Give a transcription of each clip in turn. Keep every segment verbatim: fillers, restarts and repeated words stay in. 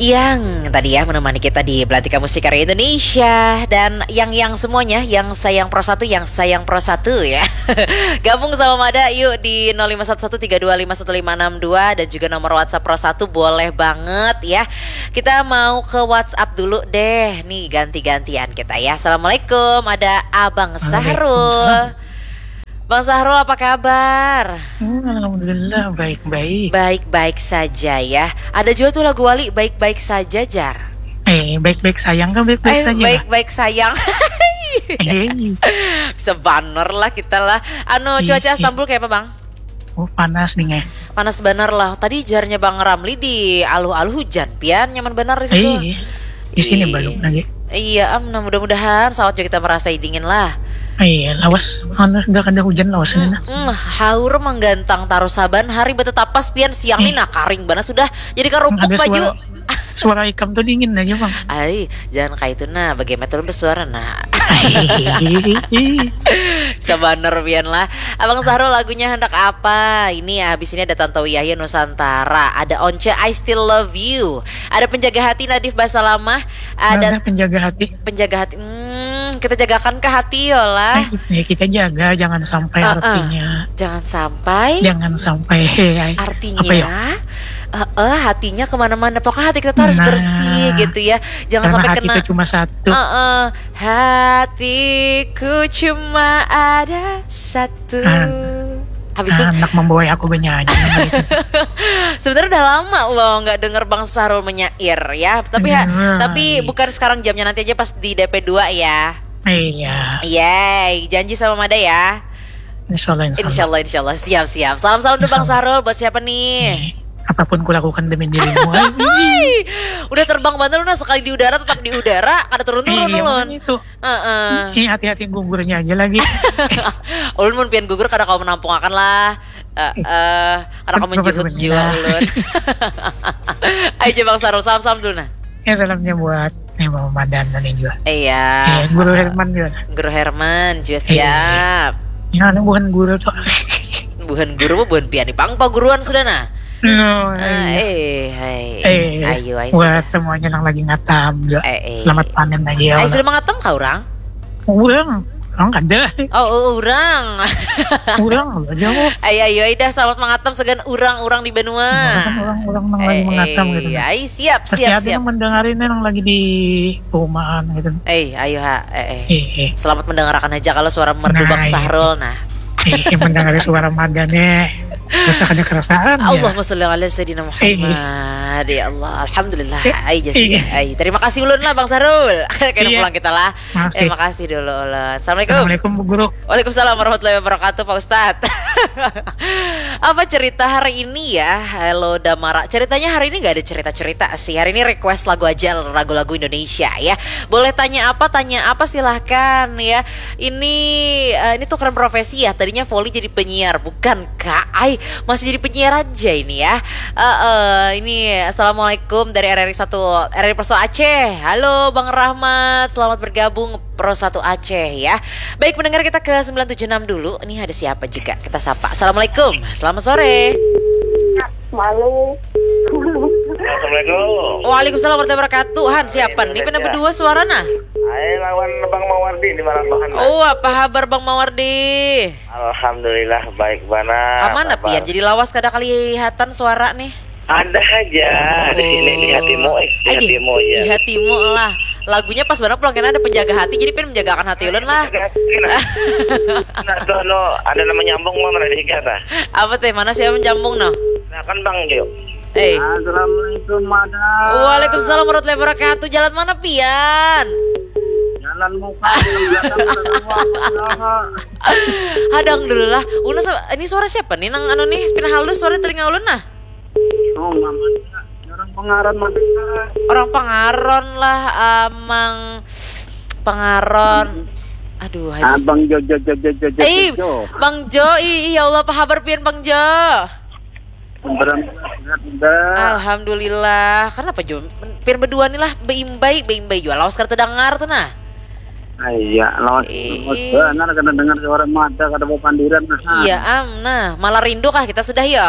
Yang tadi ya menemani kita di Belantika Musik Karya Indonesia dan yang yang semuanya yang sayang Pro satu, yang sayang Pro satu ya. Gabung sama Mada yuk di nol lima satu satu tiga dua lima satu lima enam dua dan juga nomor WhatsApp Pro satu boleh banget ya. Kita mau ke WhatsApp dulu deh. Nih ganti-gantian kita ya. Assalamualaikum, ada Abang Sahrul. Bang Sahrul, apa kabar? Hmm, Alhamdulillah, baik-baik. Baik-baik saja ya. Ada juga tuh lagu Wali, baik-baik saja, jar. Eh, baik-baik sayang kan baik-baik Eh, saja. baik-baik sayang. Eh, Bisa banner lah kita lah. Anu, Iya, cuaca iya. Istanbul kayak apa, Bang? Oh, panas nih, eh. Panas bener lah. Tadi jarnya Bang Ramli di aluh-aluh hujan. Pian nyaman bener di situ. Eh, di sini Ih. Belum lagi. Iya, am, nah mudah-mudahan saat juga kita merasa dingin lah. Iya, lawas. Anu, udah kada hujan lawas ini nah. Mm, haur menggantang taruh saban hari betetapas pian siang nih nah karing banget sudah jadi kerupuk Ada baju. Suara, suara ikam tuh dingin aja, Bang. Ai, jangan kayak itu nah, bagaimana tuh bersuara nah. Sabar pian lah. Abang Sahrul lagunya hendak apa? Ini habis ini ada Tantowi Yahya Nusantara, ada Once I Still Love You, ada Penjaga Hati Nadif Basalamah, ada Ada penjaga hati. Penjaga Hati. Hmm, kita jagakan ke hati yo lah. Eh, ya kita jaga jangan sampai Ah, ah. Artinya Jangan sampai jangan sampai eh, artinya apa ya? eh, eh, hatinya kemana-mana. Pokoknya hati kita tuh harus Nah, bersih gitu ya. Jangan Karena sampai hati kena. Itu cuma satu. Eh, eh, hatiku cuma ada satu. Ah. Habis itu Anak membawa aku bernyanyi. Sebenarnya udah lama loh nggak denger Bang Sahrul menyair ya. Tapi ha- Iya. tapi bukan sekarang jamnya, nanti aja pas di D P dua ya. Iya. Yeay, janji sama Mada ya. Insya Allah, insya Allah. Insya Allah, insya Allah. Siap, siap. Salam, salam dulu Bang Insya Allah. Sahrul buat siapa nih? Eh, apapun kulakukan demi dirimu. Ay, Hai, udah terbang banget lu nah, sekali di udara tetap di udara, kada turun-turun iya, ulun. Makanya itu. Heeh. Eh, hati-hati gugurnya aja lagi. Ulun mun pian gugur kada kawa menampungakan lah. Eh, eh, kada kawa Betul, menjuhut betul, jiwa betul. Ulun. Ayo aja Bang Sahrul, salam-salam dulu nah. Ya, salamnya buat nih Mama Madan dan juga. Iya. Eh, Guru Herman juga. Guru Herman juga siap. Ya, ini bukan guru tuh. Buhan guru mah buhan pian nih. Bang paguruan sudah nah. No, Ah, iya. eh, hai. Eh, Ayo, ayo. buat semuanya yang lagi ngatam juga. Eh, eh. Selamat panen lagi ya. Ayo, sudah mengatam kah orang? Urang, orang kada. Oh, oh, orang. Urang aja kok. Ayo, ayo, ayo dah selamat mengatam segan orang-orang di banua. Orang-orang yang lagi Eh, mengatam eh, gitu. Nah. Ayo, siap, Pasti siap, ada siap. Yang mendengarin yang lagi di perumahan gitu. Eh, ayo ha, eh, eh. Eh, eh. Selamat mendengarkan aja kalau suara merdu Nah, Bang iya. Sahrul nah. Eh, yang mendengar suara Mada nih, rasa kada kerasaan ya. Allahumma sholli ala sayyidina Muhammad. Ya Allah, alhamdulillah. Eh, Ayo Jessica. iya. Ayo, terima kasih ulun lah Bang Sahrul. Kena Iya. Pulang kita lah. Makasih. Terima kasih dulu ulun. Assalamualaikum. Assalamualaikum Bu Guru. Waalaikumsalam warahmatullahi wabarakatuh, Pak Ustadz. Apa cerita hari ini ya? Halo Damara. Ceritanya hari ini nggak ada cerita-cerita sih. Hari ini request lagu aja, lagu-lagu Indonesia ya. Boleh tanya apa, tanya apa silahkan ya. Ini eh, ini tukeran profesi ya. Tadinya Voli jadi penyiar, bukan kak? Ay, masih jadi penyiar aja ini ya. Eh, eh, ini assalamualaikum dari R R I satu, R R I Pro satu Aceh. Halo Bang Rahmat, selamat bergabung Pro satu Aceh ya. Baik, pendengar kita ke sembilan tujuh enam dulu. Ini ada siapa juga? Kita sapa. Assalamualaikum. Selamat sore. Malu. Assalamualaikum. Waalaikumsalam warahmatullahi wabarakatuh. Han, siapa nih? Pina berdua suara nah. Hai, lawan Bang Mawardi di Malambahan. Oh, apa kabar Bang Mawardi? Alhamdulillah baik bana. Kamana pian? Jadi lawas kada kelihatan suara nih. Ada aja di sini di hatimu, eh, di Aduh, hatimu aja. Di hatimu lah. Lagunya pas banget pulang kena ada penjaga hati. Jadi pian menjagakan hati ulun lah. Nah, tuh, no, ada nama nyambung mah mana dikata. Apa teh? Mana siapa menyambung no? Nah, kan Bang Jo. Eh. Assalamualaikum Mada. Waalaikumsalam warahmatullahi wabarakatuh. Jalan mana pian? Jalan muka, jalan belakang, jalan luar, jalan. Hadang dulu lah. Ulun sa- ini suara siapa nih nang anu nih? Pina halus suara telinga ulun nah. Oh, Mama. Orang pengaran Mada. Orang Pangaron lah, Amang Pangaron. Aduh, hai. Abang Jo Jo Jo Jo Jo Jo. Eh, Jo. Bang Jo, ih, ya Allah, apa kabar pian Bang Jo? Berem sehat Mada. Alhamdulillah. Kenapa Jo? Pian berdua nih lah, beimbai, beimbai jua. Lawas kada terdengar tuh nah. Ah, iya, lawas Ih. lawas benar kada dengar suara Mada, kada mau pandiran. Nah. Iya, am, nah, malah rindu kah kita sudah yo?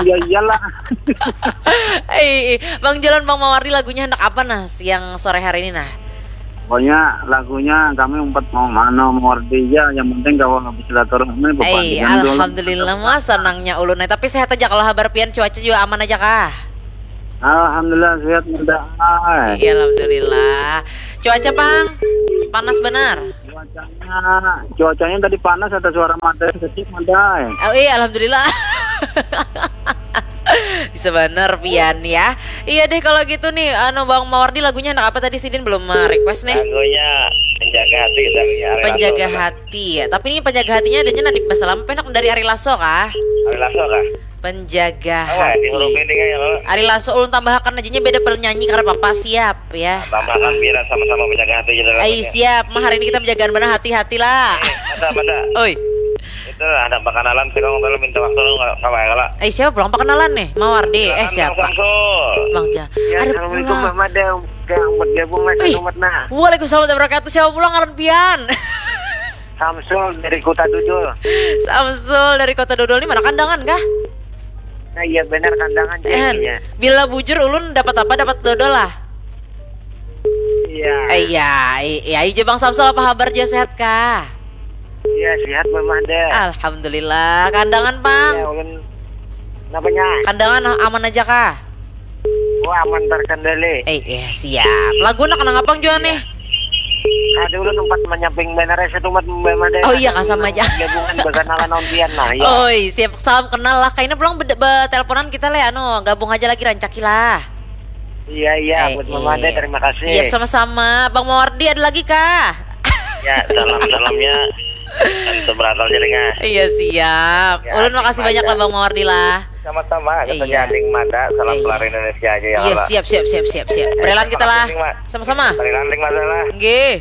Ya iyalah. Eh, Bang Jolon, Bang Mawardi, lagunya hendak apa nah siang sore hari ini nah? Pokoknya lagunya kami umpat mau mana mau ya, yang penting kalau habis silaturahmi Eh, alhamdulillah mas, senangnya ulun. Nah, tapi sehat aja kalau habar pian, cuaca juga aman aja kah? Alhamdulillah sehat mudah. Iya, alhamdulillah. Cuaca pang panas benar. Cuacanya, cuacanya tadi panas, ada suara mata yang kecil ada. Oh iya, alhamdulillah. Bisa bener pian ya. Iya deh kalau gitu nih, anu Bang Mawardi, lagunya anak apa tadi, sidin belum eh, request nih? Lagunya Penjaga Hati, lagunya Ari Penjaga Lasso. Hati ya. Tapi ini penjaga hatinya adanya Nadif Basalam, penak dari Ari Lasso kah? Ari Lasso kah? Penjaga Apa ya, di Hati. huruf ini kayaknya kalau Ari Lasso ulun tambahkan aja nya beda penyanyi karena papa siap ya. Tambahkan biar sama-sama penjaga hati gitu lah. Ai siap, mah hari ini kita penjagaan benar, hati-hati lah. Mata, mata. Oi, Itu ada perkenalan sih, kalau minta waktu lu nggak apa ya kalau. eh siapa pulang perkenalan nih? Mawardi. Eh Silakan, siapa? Bang Samsul. Bang Ja. Ya, Ada assalamualaikum pulang. Bang Mada, yang bergabung mas Wih, selamat nah. Waalaikumsalam warahmatullahi wabarakatuh. Siapa pulang ngaran pian? Samsul dari Kota Dudul. Samsul dari Kota Dodol, ini mana Kandangan kah? Nah iya benar Kandangan Eh, jadinya. Bila bujur ulun dapat apa, dapat dodol lah. Iya. Eh, iya, i- iya aja Bang Samsul, apa kabar, ja sehat kah? Iya sehat Bang Mada. Alhamdulillah. Kandangan Bang. Ya ulun. Apanya? Kandangan aman aja kah? Oh aman terkendali. Eh, iya siap. Lagu nak kenang apa jua nih? Ada ulun umpat menyamping benar ya satu umat Bang Mada. Oh iya, kasam aja. Gabungan berkenalan ontian nah ya. Oi, siap, salam kenal lah. Kayaknya pulang beda- beteleponan kita leh, anu gabung aja lagi, rancaki lah. Iya iya Eh, buat Bang Mada iya. Terima kasih. Siap sama-sama. Bang Mawardi ada lagi kah? Ya, salam-salamnya. Dan seberakal jaringan. Iya siap. Ya, Ulun makasih ada. Banyak lah Bang Mawardi lah. Sama-sama, katanya Iya. Ading Mada, salam Iya. Keluar Indonesia aja ya. Iya Allah. Siap siap siap siap siap. Berelan kita lah. Makasih, Mak. Sama-sama. Berelan Ading Mada lah. Nggih.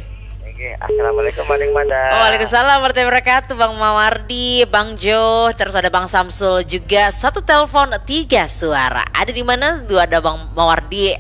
Oke, assalamualaikum Ading Mada. Waalaikumsalam warahmatullahi wabarakatuh, Bang Mawardi, Bang Jo, terus ada Bang Samsul juga. Satu telepon tiga suara. Ada di mana? Dua ada Bang Mawardi.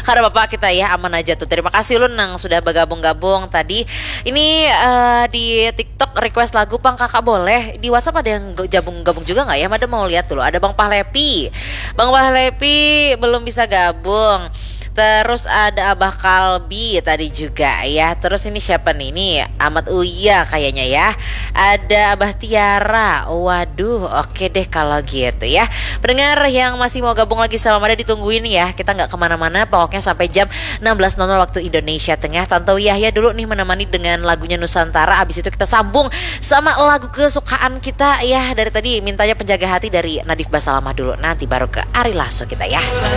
Karena bapak kita ya aman aja tuh. Terima kasih ulun nang sudah bergabung-gabung tadi. Ini eh, di TikTok request lagu pang kakak boleh. Di WhatsApp ada yang gabung-gabung juga nggak ya? Mada mau lihat dulu. Ada Bang Pahlepi. Bang Pahlepi belum bisa gabung. Terus ada Abah Kalbi tadi juga ya. Terus ini siapa nih? Ini Amat Uya kayaknya ya. Ada Abah Tiara. Waduh, oke deh kalau gitu ya. Pendengar yang masih mau gabung lagi sama Mada, ditungguin ya. Kita nggak kemana-mana. Pokoknya sampai jam enam belas nol nol waktu Indonesia Tengah. Tanto Yahya dulu nih menemani dengan lagunya Nusantara. Abis itu kita sambung sama lagu kesukaan kita ya. Dari tadi mintanya Penjaga Hati dari Nadif Basalamah dulu. Nanti baru ke Ari Lasso kita ya.